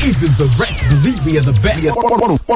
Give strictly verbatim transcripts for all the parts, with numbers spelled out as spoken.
Even the rest believe we are the best. one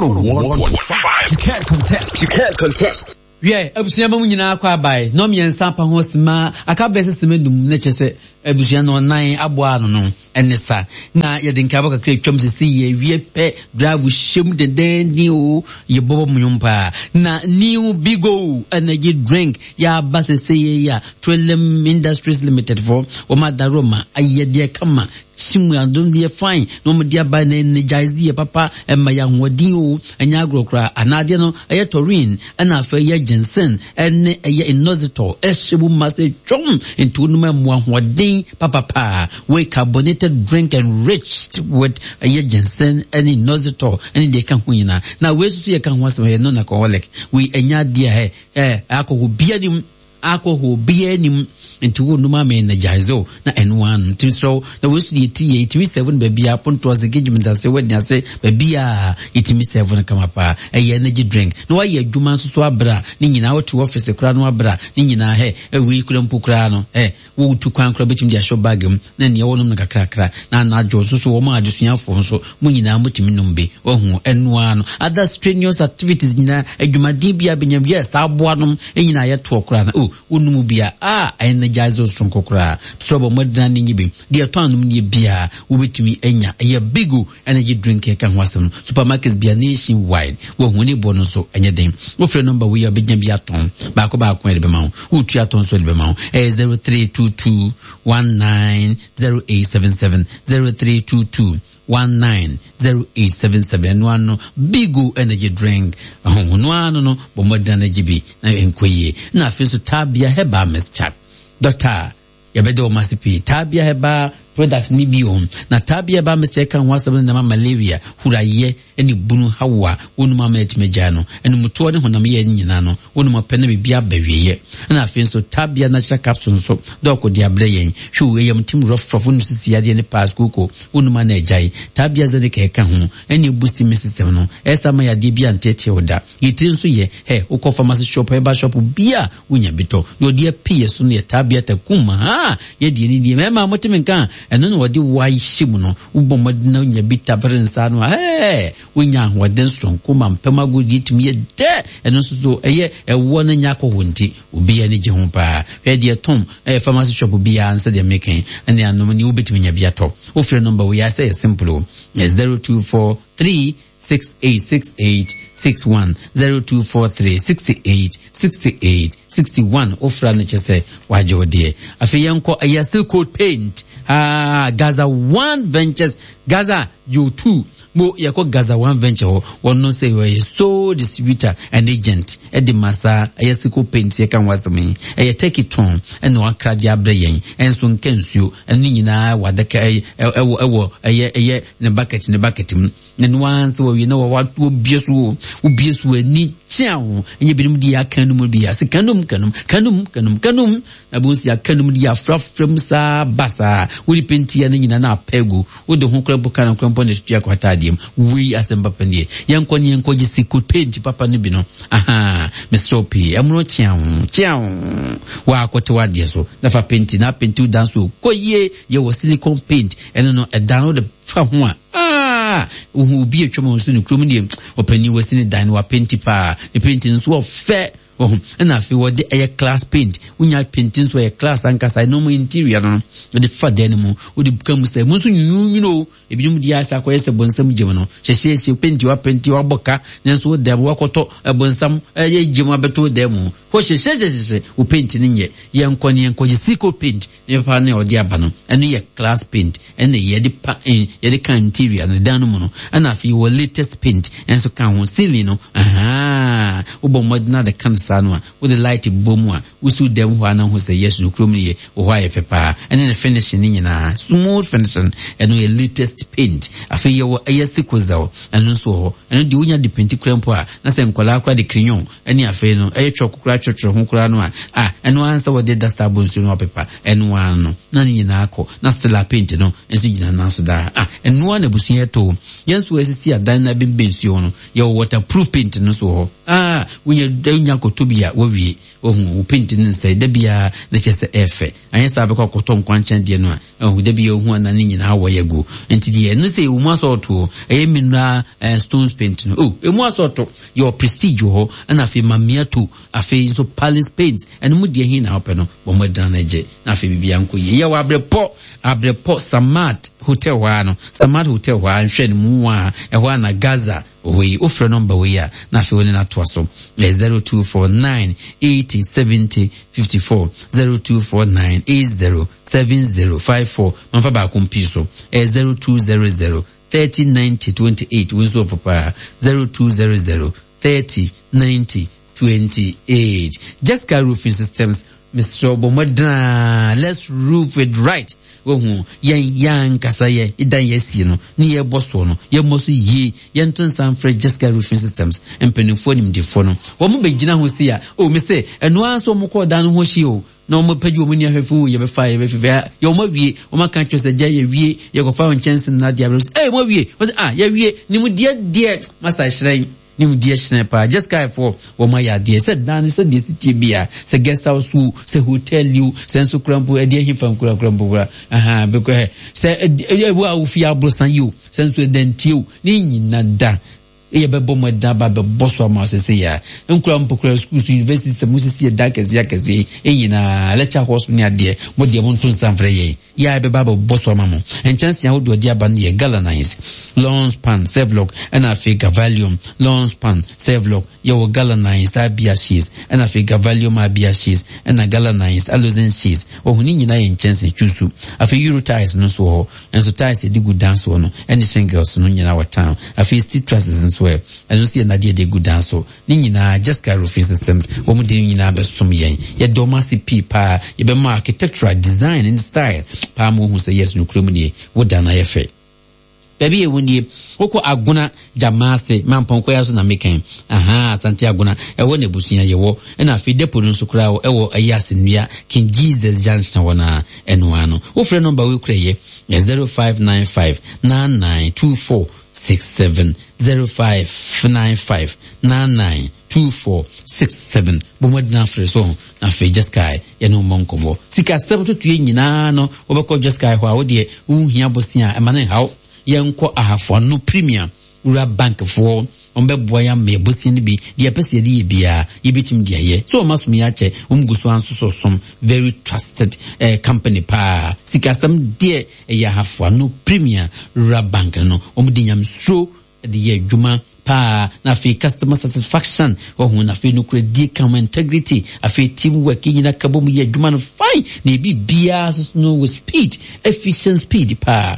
oh one point five. You can't contest. You can't contest. Wiɛ, abusua ba mu nyinaa kɔ abae na ɔmmiɛnsa apa ho sima aka bɛyɛ sɛ sima num, na kyerɛ sɛ abusua no ɔnan aboa ano no ɛne sa na yɛde nkaebɔ kakra atwam sisi yɛ wie pɛ drive hyɛm dendenden o, yɛbɔbɔ mu nwom paa. Na New Bigo Energy Drink yɛaba sese yɛ a Twelem Industries Limited fo wɔn adaro ma ayɛ deɛ kama kyimu adom deɛ fine na wɔn de aba na energize yɛ papa, ɛma yɛ ahoɔden o. Ɛnyɛ agorɔ koraa. Anaadeɛ no ɛyɛ taurine, ɛna afei ɛyɛ ginseng, ɛne ɛyɛ inositol ɛhyɛ mu ma sɛ twɔm, nti wɔn mu ahoɔden papapaa. Wei carbonated drink enriched with ɛyɛ ginseng ɛne inositol ɛne deɛ ɛka ho nyinaa. Na wei nso so yɛ ka ho asɛm, ɛyɛ non alcoholic. Wei ɛnyɛ adeɛ a ɛ alcohol bia nim, alcohol bia nim, nti wo num ama energize o na ɛno ano. Nti srɛw na wei so deɛ ti yɛ yɛtumi serve no baabi a ponto ase, engagement ase, wedding ase, baabi a yɛtumi serve no kama paa. Ɛyɛ energy drink na wayɛ adwuma nso so abra ne nyinaa, wote office koraa no abra ne nyinaa hɛ ɛwei kura mpo koraa no ɛ wotu kwan koraa bɛtumi de ahyɛ bag mu na nea wɔnom no kakrakra. Na anadwo nso so wɔn adesuafoɔ nso mo nyinaa motumi nom bi wahu ɛnoa no. Other strenuous activities nyinaa, adwumaden bi a bɛnya yɛ saa aboa nom nyinaa yɛtoɔ koraa no o, wonum bi a a energize wo soronko koraa so. Bɔ mmɔdena ne nye bi deɛ ɛtɔ anom nie biara wobɛtumi anya. Ɛyɛ Bigo Energy Drink ɛka ho asɛm no, supermarkets bia nation wide wahu ne boɔ no nso ɛnyɛ den. Wofrɛ number wei a, wobɛnya bi atɔn baako baako ɛde bɛma wo, wotu atɔn nso ɛde bɛma wo. Ɛyɛ zero three two two one nine zero eight seven seven, zero three two two one nine zero eight seven seven. Ɛno ano Bigo Energy Drink ɛho no ano no, bɔ mmɔdena no gye bi na ɛnkɔ yie. Na afei nso Tabia Herbal Mixture, doctor, yɛbɛde wɔn ase pii. Tabia Herbal Products ni bi wɔn na Tabia Herbal Mixture ka ho asɛm no nama malaria, hurayɛ ne bunu hawo a wɔnum ama atumi agyae no, ɛnumutoɔ ne honam yɛ ne nyinaa no, wɔnum apɛ na biribi aba wieɛ. Ɛna afei nso Tabia Natural Capsule nso dɔɔko de abrɛ yɛn. Hwɛ wo ɛyam tim rɔfrɔfo no sisi adeɛ ne paas kooko, wɔnum ana agyae. Tabia Zenica ɛka ho ɛne boost immune system no, ɛsa ma yadeɛ bi anteetee wo da. Yɛtiri nso yɛ hɛ, wokɔ pharmacy shop, herbal shop bia wonya bi tɔ. Na ɔde apii yɛ so no yɛ Tabia Takum ha yɛdeɛ ne deɛ mɛma moteme nka ɛno na wɔde wahyɛ mu no. Wobɔ mmɔden na wonya bi tabere nsa no a, ɛɛ wonya ahoɔden soronko ma mpɛm agodie tumi yɛ dɛ. Ɛno nso so ɛyɛ ɛwoɔ no nya akɔhɔ, nti obiara ani gye ho paa. Hwɛ deɛ tɔn ɛyɛ pharmacy shop biara nsɛ deɛ meka ɛne anom ne wobɛtumi nya bi atɔ. Wofrɛ number wei asɛ yɛ simple o, zero two four three six eight six eight six one, zero two four three sixty-eight sixty-eight sixty-one. Wofra no kyɛ sɛ wagye wo deɛ. Afei yɛnkɔ ɛyɛ Silk Coat Paint, ah, Gaza One Ventures, Gaza Joe two mo. Yɛkɔ Gaza One Venture hɔ, wɔn no sɛ wɔyɛ sole distributor and agent ɛde ma saa ɛyɛ Silk Coat Paint. Yɛka ho asɛm yi, ɛyɛ Turkey tɔn ɛna wakra de abrɛ yɛn. Ɛnso nka nsuo ɛno nyinaa wɔ adaka ɛyɛ ɛwɔ ɛwɔ ɛyɛ ɛyɛ ne bucket ne bucket mu. Na no ara nso wɔwie na wɔwɔ so o, wobie so ani kyea ho. Ɛnyɛ binom de aka no mu bi ase kanum kanum kanum kanum kanum na bo nsi aka no mu de afrafra mu saa ba saa wode pentia no nyinaa na apɛ gu wode ho kora mpo ka no kora mpo na tutua kɔ ataadeɛ mu. Wei asɛm papa nie. Yɛnkɔ ne yɛnkɔ gye Silk Coat Paint papa no bi no. Aha, mesrɛ pii, ɛmono kyea ho kyea ho waakɔte wadeɛ so na fa paint na paint wo dan so kɔ yie. Yɛwɔ silicon paint, ɛno no ɛdan no wode fa ho a, ah, wohu obi atwam a nso ne kurom deɛ ɔpanin wasi ne dan no wapenti paa, ne paint nso ɔfɛ wɔho. Ɛna afei wɔde ɛyɛ class paint, wonya paint nso ɛyɛ class ankasa. Ɛno mu interior no wɔde fa dan no mu, wode ka mu sɛ mu nso nwunwunu o. Ebinom de asa akɔyɛ sɛ bɔnsam gyem no hyehyɛhyɛ paint, wapenti wabɔ ka, nanso wo dan mu wakɔtɔ ɛbɔnsam ɛyɛ gyem abɛto dan mu hɔ hyehyɛhyehyɛ wo paint no nyɛ. Yɛnkɔ ne yɛnkɔ gye Silk Coat Paint ne papa ne ɔde aba no. Ɛno yɛ class paint ɛna yɛde pa yɛde ka interior no dan no mu no. Ɛna afei wɔ latest paint ɛnso ka ho ceiling no. Ahaa, wobɔ mmɔden ade ka no saa no a, wode light bɔ mu a, wosi dan mu hɔ a na ho sɛ yes, no kurom no yɛ wɔ hɔ ayɛ fɛ paa. Ɛne ne finishing ne nyinaa smooth finishing, ɛno yɛ latest paint. Afei yɛwɔ ɛyɛ sikozel, ɛno nso wɔ hɔ. Ɛno deɛ wonya de paint kura mpo a, na sɛ nkwadaa kora de crayon ɛne afei no ɛyɛ chalk kora atwerɛtwerɛ ho koraa no a, a ɛno ara nsa wɔde duster abɔ nsuo no apepa ɛno ara no na ne nyinaa kɔ. Na stella paint no nso gyina nan so daa. A ɛno ara na abusua yɛtɔ yɛn nso asisi adan na bɛnbɛn nsuo no. Yɛwɔ waterproof paint no nso wɔ hɔ a wonya wonya kɔtɔ. Wotɔ bi a wawie, wahu wo paint ne nsɛe da biara na kyerɛ sɛ ɛɛfɛ. Anyɛ saa bɛkɔ akɔtɔ nkwankyɛn deɛ no a, ɛhu da biara ohu ana ne nyinaa wɔ yɛ gu. Nti deɛ ɛno sɛ ɛwɔ mu asɔɔto, ɛyɛ mineral eh, stones paint no. Oh, ɛmu asɔɔto, yɛwɔ Prestige wɔ hɔ, ɛna afei Mamiato, afei nso Palace Paint. Ɛno mu deɛ he na wopɛ no, bɔ mmɔden na gye. Na afei biribiara nkɔ yie. Yɛwɔ Abrepɔ, Abrepɔ Samad Hotel hɔ ara no, Samad Hotel hɔ ara, nhwɛ no mu a, ɛhɔ ara na Gaza wɔ yi. Wofrɛ nɔmba wei a, na afei wo ne no atoa so. Ɛyɛ zero two four nine eighty seventy fifty four, zero two four nine eight zero seven zero five four. Mamfa baako mpii so. Ɛyɛ zero two zero zero thirty ninety twenty eight. Wo nso ɔfo paa. zero two zero zero thirty ninety twenty eight. Jessica Roofing Systems, Mister Obomodra, let's roof it right. Wohu yɛn yɛn ankasa yɛ dan yɛ sie no ne yɛ bɔ soɔ no yɛ mmɔ so yie. Yɛnto nsa mfrɛ Jessica Roofing Systems mpanimfoɔ nimdefoɔ no, wɔn bɛgyina ho si a o me sɛ ɛno ara nso wɔn kɔɔ dan no ho hyia o, na wɔn pɛgye wɔn ni ahwɛfo o, yɛbɛfa yɛbɛfɛfɛ yɛ wɔn awie, wɔn aka kyerɛ sɛ gya yɛwie, yɛkɔfa wɔn nkyɛnse na adeɛ abɛrɛ sɛ ɛy wɔn awie, wɔn sɛ ah yɛwie nimdeɛ deɛ masa hyerɛn. Nimdeɛ hyerɛn paa. Jessica foɔ wɔn ayɛ adeɛ sɛ dan sɛ deɛ si tie bia, sɛ guest house o, sɛ hotel o, sɛ nso kura mpo ɛdeɛ hefa nkura kura mpo kura aha bɛkɔ hɛ sɛ ɛwɔ a wofi aborosan yi o, sɛ nso ɛdantie o, ne nyina da yɛ bɛbɔ mo ɛda ba bɛbɔ so ama sɛ yɛ nkura mpo kura schools, university sɛ mo sisi ɛda kɛseɛ akɛseɛ nyinaa, lecture halls ne adeɛ, mo deɛ mo nto nsa mfrɛ yɛn yɛ a bɛba bɛbɔ so ama mo. Nkyɛnse ahodoɔ de aba no yɛ galvanized, long span, Sevlok, ɛna afei Galvalium, long span, Sevlok. Yɛwɔ galvanized abia sheets, ɛna afei Galvalium abia sheets, ɛna galvanized aluzinc sheets. Wɔn ne nyinaa yɛ nkyɛnse twisu. Afei Euro tiles no nso wɔ hɔ, nso tiles yɛde gu dan soɔ no ɛne shingles no nyinaa wɔ town. Afei steel trusses nso ɛ, ɛno nso yɛ nnadeɛ de gu dan so. Ne nyinaa Jessica Roofing Systems wɔn de ne nyinaa bɛsom yɛn. Yɛde wɔn ase pii paa. Yɛbɛma architectural design and style paa ma wohu sɛ yes, no kurom nie, wo dan ayɛ fɛ. Baabi yɛ wo nie, wokɔ Agona Gyamaase Mampɔnkɔ yɛ so na mekɛn aha Asante Agona ɛwɔ na abusua yɛwɔ, ɛna afei depo no nso koraa ɛwɔ ɛyɛ Asennua King Jesus Junction hɔ na ɛno ano. Wofrɛ nɔmba wei kura yɛ zero five nine five nine nine two four six seven, zero five nine five nine nine two four six seven. Bɔmmɔden afrɛ so na afei Jessica yɛne wo mmɔ nkɔmmɔ. Sikasɛm totoe nyinaa no wobɛkɔ Jessica hɔ a wodeɛ wohia bosea a ɛma ne nhaw. Yɛnkɔ Ahafo Ano Premier Wura Bankfoɔ, wɔn bɛboa yɛn ama yɛbosea no bi deɛ yɛpɛ sɛ yɛde yɛ biara yɛbɛtumi de ayɛ. So wɔn asom yɛ akyɛ, wɔn gu so anso som very trusted eh, company paa. Sikasɛm deɛ ɛyɛ Ahafo Ano Premier Wura Bank no, wɔn de nyamesuro de yɛ adwuma paa. Na afei customer satisfaction wɔn, na afei nokoradie ka ho, integrity, afei teamwork nyinaa ka bɔ mu yɛ adwuma no fine, na ebi biara nso no with speed, efficient speed paa.